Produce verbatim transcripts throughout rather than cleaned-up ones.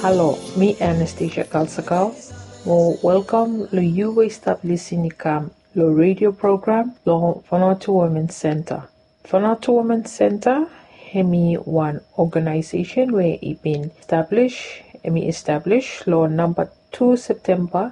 Halo, mi Anastasia Kalsakal. Mo welkam lo yu we i stap lisin i kam lo redio program lo Vanuatu Women Center. Vanuatu Women Center hemi wan oganaesesen we i bin establis, hemi establis lo namba tu Septemba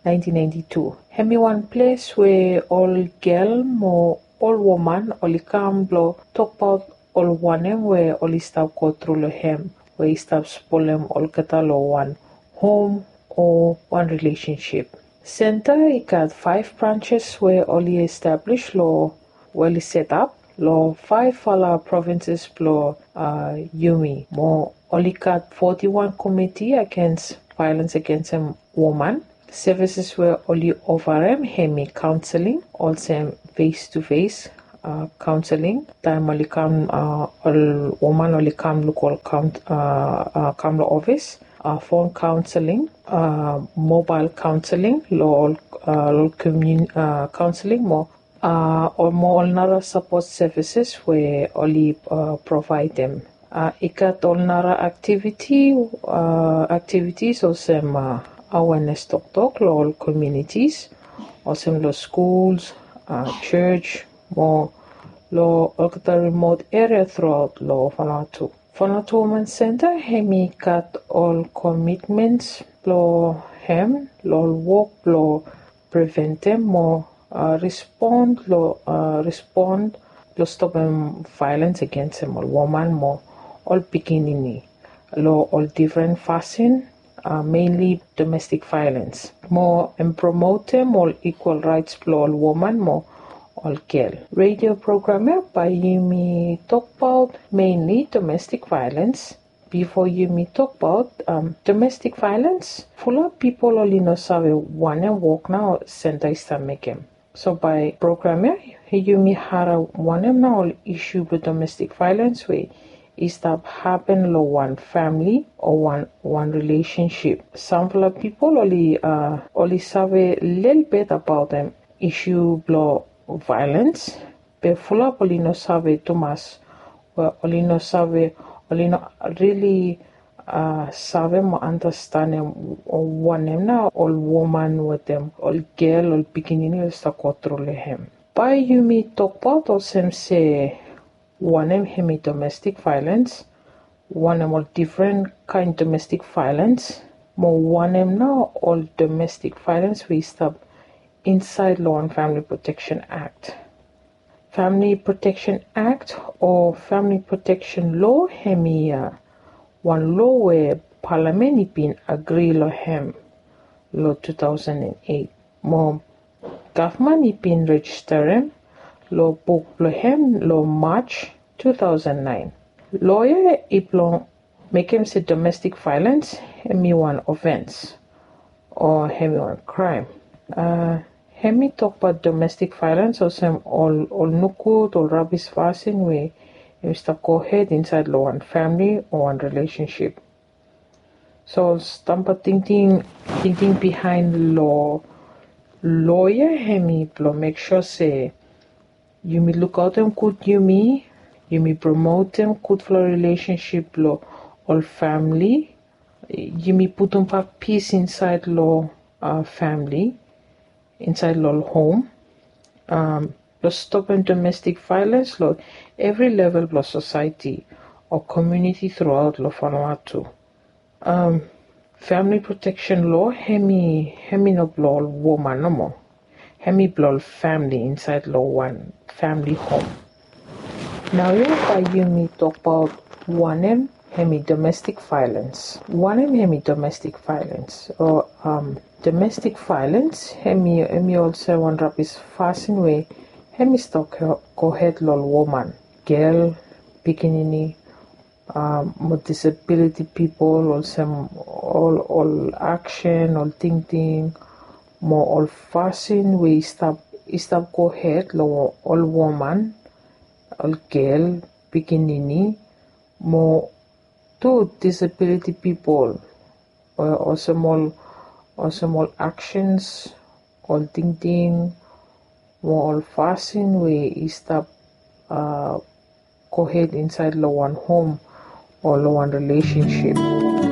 naentin naenti tu. Hemi wan ples we ol gel mo ol woman oli kam blo tokbaot ol wanem we oli stap go tru lo hem we i stap spolem olgeta lo wan hom o wan rilesensip. Senta i gat faef branses we oli establis lo, we oli setap lo faefala provinses blo, uh, yumi. Mo oli gat foti wan komiti agens vaelens agensem woman. Sevises we oli ofarem hemi kaonseling, olsem fes tu fes, uh, kaonseling taem oli kam, uh, ol woman oli kam luk ol kaon-, uh, uh, kam lo ofis, uh, fon kaonseling, uh, mobael kaonseling lo ol, uh, lo ol komun-, uh, kaonseling mo, uh, ol mo ol nara sapot sevises we oli, uh, provaedem. Uh, i gat ol nara aktiviti, uh, aktivitis olsem, uh, awenes toktok lo ol komunitis, olsem lo skuls, uh, jos, mo lo olgeta rimot eria truaot lo Vanuatu. Vanuatu Women Center hemi gat ol komitmens blo hem lo ol wok blo preventem mo, uh, respon lo, uh, respon lo stopem vaelens agensem ol woman mo ol pikinini lo ol difren fasin, uh, mainly domestic violence. Mo hem promotem ol equal raets blo ol woman mo ol gel. Redio program ya bae yumi tokbaot mainly domestic violence. Bifo yumi tokbaot, um, domestic violence, fulap pipol oli no save wanem wok nao senta i stap mekem. So bae program ya yumi harem wanem nao ol isu blo domestic violence we i stap hapen lo wan famili o wan, wan rilesensip. Samfala pipol oli, uh, oli save lelebet abaotem isu blo vaelens, be fulap oli no save tumas, we oli no save, oli no rili, uh, save mo andastanem wanem nao ol woman wetem ol gel, ol pikinini oli stap go tru lo hem. Bae yumi tokbaot olsem se wanem hemi domestic violence, wanem ol difren kaen domestic violence, mo wanem nao ol domestic violence we i stap insaed lo wan Family Protection Act. Family Protection Act o Family Protection Law hemi, uh, wan loa we palamen i bin agri lo hem lo two thousand and eight. Mo gavman i bin rejisterem lo buk blo hem lo March two thousand nine. Loa ya i blong mekem se domestic violence hemi wan ofens o hemi wan kraem. Uh, hemi tokbaot domestic violence olsem ol, ol nogud, ol rabis fasin we hemi stap gohed insaed lo wan famili o wan rilesensip. So stamba tingting, tingting bihaen lo loa ya hemi blo mek sua se yumi lukaotem gud yumi, yumi promotem gudfala rilesensip lo ol famili, yumi putumbak pis insaed lo, uh, famili, insaed lo ol hom, um, lo stopem domestic violence lo evri level blo sosaeti o komuniti truaot lo Vanuatu. Um, Family Protection Law hemi, hemi no blo ol woman nomo. Hemi blo ol famili insaed lo wan famili hom. Naoia bae yumi tokbaot wanem hemi domestic violence. Wanem hemi domestic violence? O, um, domestic violence hemi, hemi olsem wan rabis fasin we hemi stap go, gohed lo ol woman, gel, pikinini, um, mo disability pipol, olsem ol, ol aksen, ol tingting mo ol fasin we i stap, i stap gohed lo ol woman, ol gel, pikinini mo tu disability pipol, o, olsem ol, olsem ol aksens, ol tingting mo ol fasin we i stap, uh, gohed insaed lo wan hom o lo wan rilesensip.